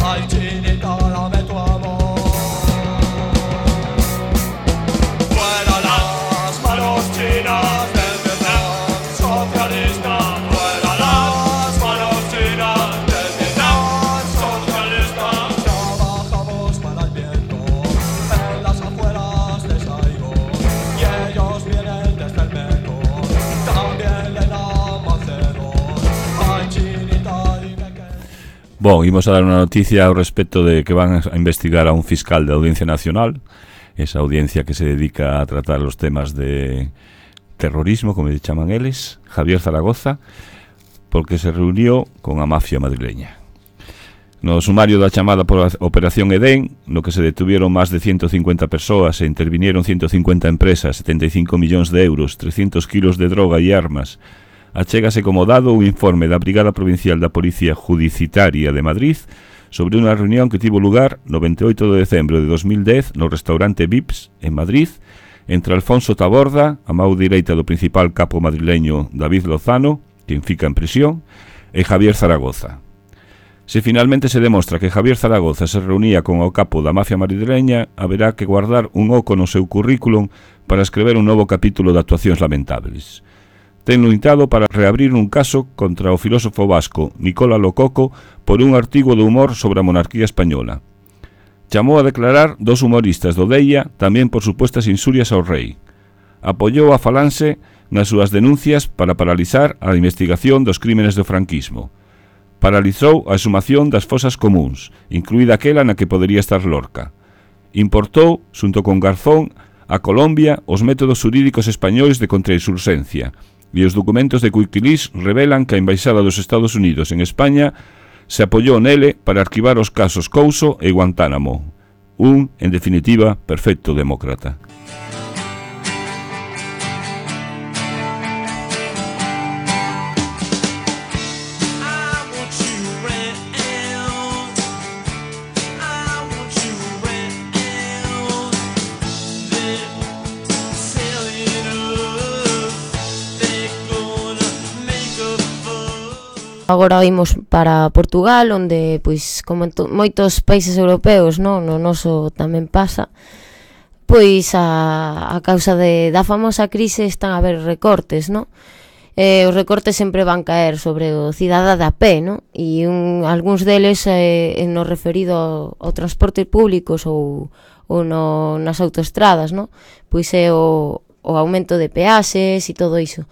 Ay, chinita, dame tu amor. Fuera las manos chinas del Vietnam socialista. Fuera las manos chinas del Vietnam socialista. Trabajamos para el viento en las afueras de Saigón y ellos vienen desde el Mekong. Bon, imos a dar unha noticia ao respecto de que van a investigar a un fiscal da Audiencia Nacional esa audiencia que se dedica a tratar los temas de terrorismo, como le chaman eles, Javier Zaragoza, porque se reunió con a mafia madrileña. No sumario da chamada por Operación Edén, no que se detuvieron máis de ciento cincuenta persoas e intervinieron ciento cincuenta empresas, setenta e cinco millóns de euros, trescentos kilos de droga e armas, achégase como dado un informe da Brigada Provincial da Policía Judicitaria de Madrid sobre unha reunión que tivo lugar no veintioito de decembro de dos mil dez no restaurante Vips, en Madrid, entre Alfonso Taborda, a mão direita do principal capo madrileño David Lozano, quen fica en prisión, e Javier Zaragoza. Se finalmente se demostra que Javier Zaragoza se reunía con o capo da mafia madrileña, haberá que guardar un oco no seu currículum para escrever un novo capítulo de actuacións lamentables. Ten loitado para reabrir un caso contra o filósofo vasco Nicola Lococo por un artigo de humor sobre a monarquía española. Chamou a declarar dos humoristas do Deia tamén por supuestas insurias ao rei. Apoiou a Falanxe nas súas denuncias para paralizar a investigación dos crímenes do franquismo. Paralizou a exhumación das fosas comuns, incluída aquela na que podería estar Lorca. Importou, xunto con Garzón, a Colombia os métodos xurídicos españois de contrainsurxencia, e os documentos de Wikileaks revelan que a Embaixada dos Estados Unidos en España se apoiou nele para arquivar os casos Couso e Guantánamo. Un, en definitiva, perfecto demócrata. Agora imos para Portugal, onde, pois, como en to- moitos países europeos, no, no noso tamén pasa, pois a, a causa de, da famosa crise están a haber recortes, no? Eh, os recortes sempre van caer sobre o cidadá de a pé, no? E un, algúns deles eh, no referido ao, ao transporte públicos ou, ou no, nas autoestradas, no? Pois é o, o aumento de peaxes e todo iso.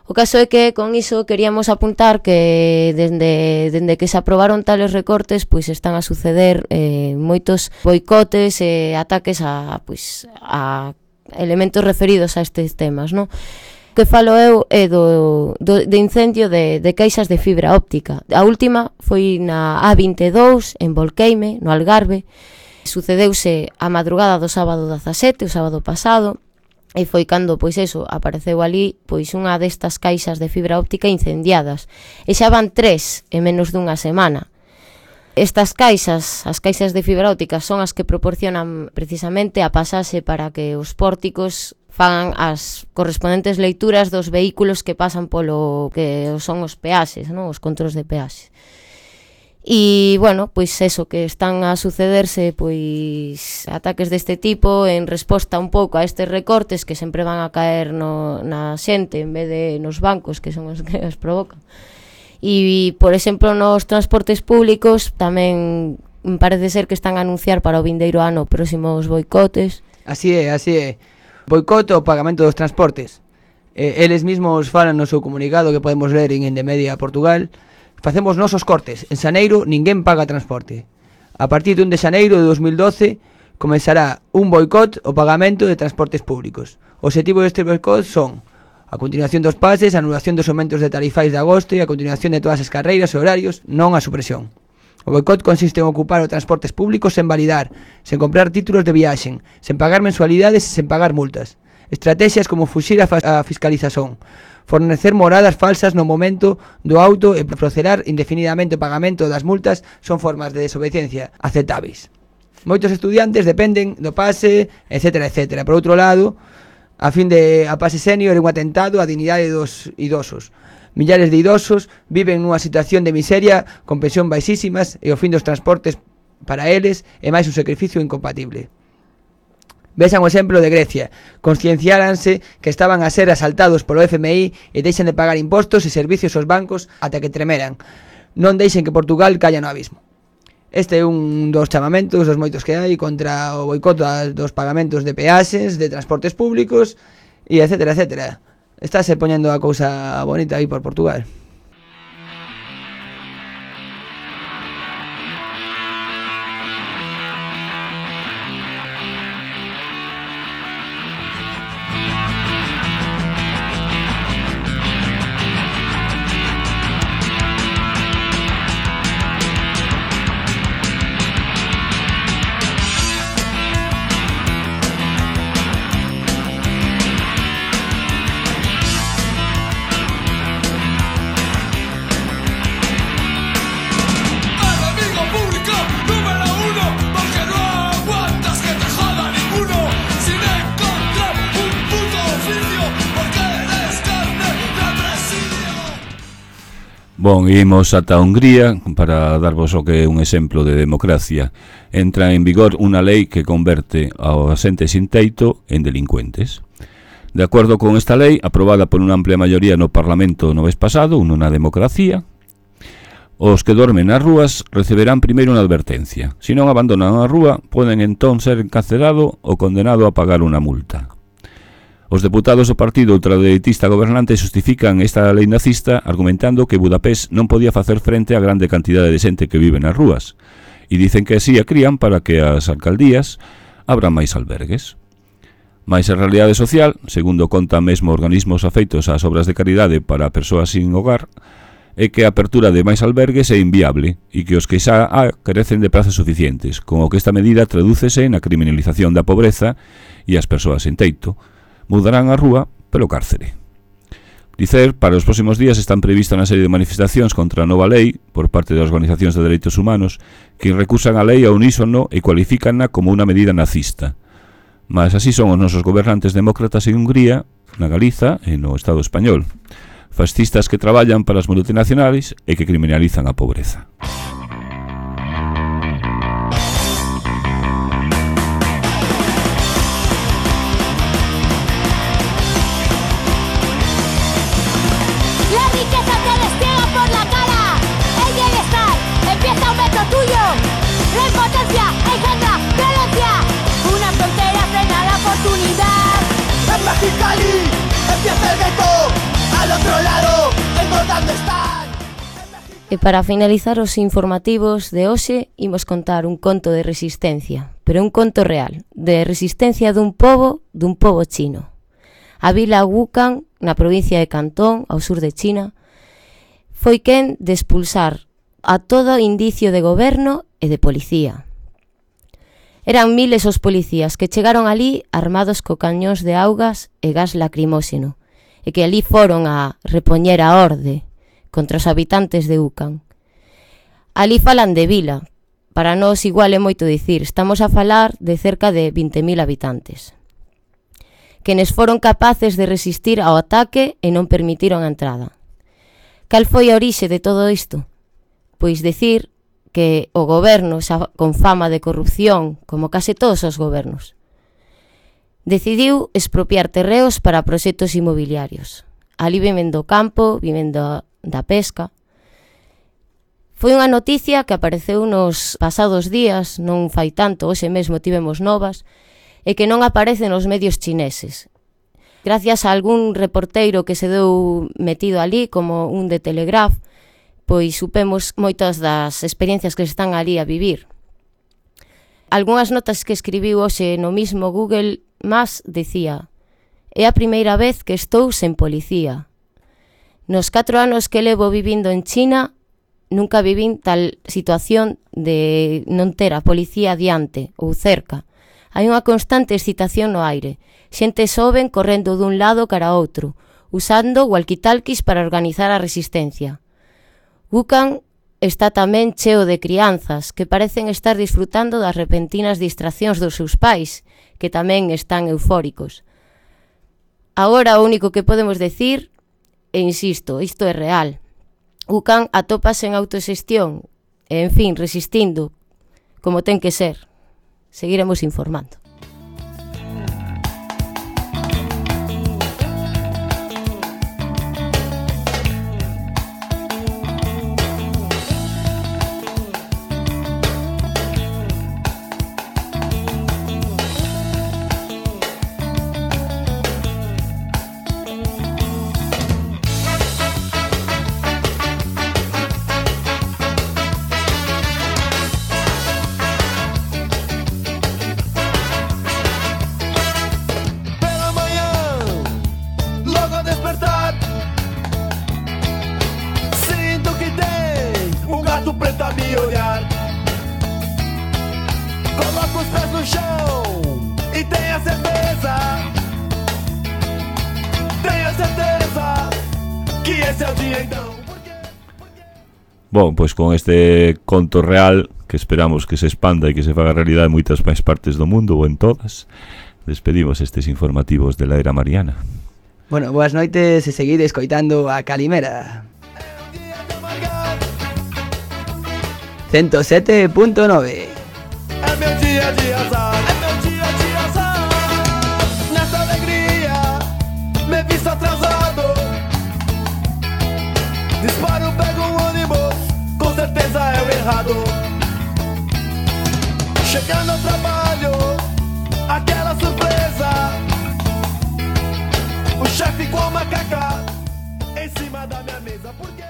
O caso é que con iso queríamos apuntar que dende, dende que se aprobaron tales recortes, pois están a suceder eh, moitos boicotes e eh, ataques a, pois, a elementos referidos a estes temas, non? O que falo eu é do, do, de incendio de, de caixas de fibra óptica. A última foi na A vinte e dous, en Volqueime, no Algarve. Sucedeuse a madrugada do sábado dezasete, o sábado pasado, e foi cando, pois eso, apareceu ali pois unha destas caixas de fibra óptica incendiadas. E xa van tres en menos dunha semana. Estas caixas, as caixas de fibra óptica, son as que proporcionan precisamente a pasaxe para que os pórticos fagan as correspondentes leituras dos vehículos que pasan polo que son os peaxes, non? Os controls de peaxe. E, bueno, pois eso, que están a sucederse pois ataques deste tipo en resposta un pouco a estes recortes que sempre van a caer no, na xente en vez de nos bancos, que son os que os provocan. E, por exemplo, nos transportes públicos tamén parece ser que están a anunciar para o vindeiro ano próximos boicotes. Así é, así é. Boicote o pagamento dos transportes. Eh, eles mesmos falan no seu comunicado que podemos ler en Endemedia Portugal. Facemos nosos cortes. En xaneiro ninguén paga transporte. A partir de un de xaneiro de dos mil doce comenzará un boicot o pagamento de transportes públicos. O objetivo deste boicot son a continuación dos pases, a anulación dos aumentos de tarifais de agosto e a continuación de todas as carreiras e horarios, non a supresión. O boicot consiste en ocupar os transportes públicos sen validar, sen comprar títulos de viaxen, sen pagar mensualidades e sen pagar multas. Estrategias como fuxir a, a fiscalización, fornecer moradas falsas no momento do auto e procelar indefinidamente o pagamento das multas son formas de desobediencia aceptáveis. Moitos estudiantes dependen do pase, etcétera, etcétera. Por outro lado, a fin de a pase senior é un atentado á dignidade dos idosos. Millares de idosos viven nunha situación de miseria con pensión baixísimas e o fin dos transportes para eles é máis un sacrificio incompatible. Vexan o exemplo de Grecia. Conscienciáranse que estaban a ser asaltados polo F M I e deixan de pagar impostos e servicios aos bancos ata que tremeran. Non deixen que Portugal caia no abismo. Este é un dos chamamentos dos moitos que hai contra o boicot dos pagamentos de peaxes, de transportes públicos e etcétera, etcétera. Estáse poñendo a cousa bonita aí por Portugal. Bon, imos ata Hungría para darvos o que é un exemplo de democracia. Entra en vigor unha lei que converte aos asentes sin teito en delincuentes. De acordo con esta lei, aprobada por unha amplia maioría no Parlamento no mes pasado, nunha democracia, os que dormen nas rúas receberán primeiro unha advertencia. Se non abandonan a rúa, poden entón ser encarcelado ou condenado a pagar unha multa. Os deputados do partido ultradereitista gobernante justifican esta lei nazista argumentando que Budapest non podía facer frente á grande cantidade de xente que vive nas rúas e dicen que así a crían para que as alcaldías abran máis albergues. Mais a realidade social, segundo conta mesmo organismos afeitos ás obras de caridade para persoas sin hogar, é que a apertura de máis albergues é inviable e que os que xa há carecen de prazas suficientes, con o que esta medida tradúcese na criminalización da pobreza e as persoas sen teito. Mudarán a rúa pelo cárcere. Dicer, para os próximos días están previstas unha serie de manifestacións contra a nova lei por parte das organizacións de dereitos humanos que recusan a lei a unísono e cualifícanna como unha medida nazista. Mas así son os nosos gobernantes demócratas en Hungría, na Galiza e no Estado español. Fascistas que traballan para as multinacionais e que criminalizan a pobreza. Mexicali, empieza el gueto, al otro lado, tengo donde estar. E para finalizar os informativos de hoxe, imos contar un conto de resistencia, pero un conto real, de resistencia dun pobo, dun pobo chino. A vila Wukan, na provincia de Cantón, ao sur de China, foi quen de expulsar a todo indicio de goberno e de policía. Eran miles os policías que chegaron ali armados co cañóns de augas e gas lacrimóxeno e que ali foron a repoñer a orde contra os habitantes de Wukan. Ali falan de vila, para nós igual é moito dicir, estamos a falar de cerca de vinte mil habitantes, quenes foron capaces de resistir ao ataque e non permitiron a entrada. Cal foi a orixe de todo isto? Pois decir que o goberno, xa con fama de corrupción, como case todos os gobernos, decidiu expropiar terreos para proxectos inmobiliarios. Ali viven do campo, viven da, da pesca. Foi unha noticia que apareceu nos pasados días, non fai tanto, hoxe mesmo tivemos novas, e que non aparece nos medios chineses. Gracias a algún reporteiro que se deu metido ali, como un de Telegraph, pois supemos moitas das experiencias que están ali a vivir. Algúnas notas que escribiu hoxe no mismo Google Maps decía: é a primeira vez que estou sen policía. Nos catro anos que levo vivindo en China, nunca vivín tal situación de non ter a policía diante ou cerca. Hai unha constante excitación no aire. Xente soben correndo dun lado cara a outro, usando walkie-talkies para organizar a resistencia. Wukan está tamén cheo de crianzas que parecen estar disfrutando das repentinas distraccións dos seus pais, que tamén están eufóricos. Agora o único que podemos decir, e insisto, isto é real, Wukan atópase en autoxestión e, en fin, resistindo, como ten que ser. Seguiremos informando. Bon, pois con este conto real que esperamos que se expanda e que se faga realidade en moitas máis partes do mundo ou en todas, despedimos estes informativos de la era mariana. Bueno, boas noites e seguide escoitando a Calimera. ciento sete punto nove. É meu dia de azar, é meu dia de azar. Nessa alegria, me visto atrasado. Disparo, pego um ônibus, com certeza é o errado. Chegando ao trabalho, aquela surpresa. O chefe com a macaca em cima da minha mesa. Porque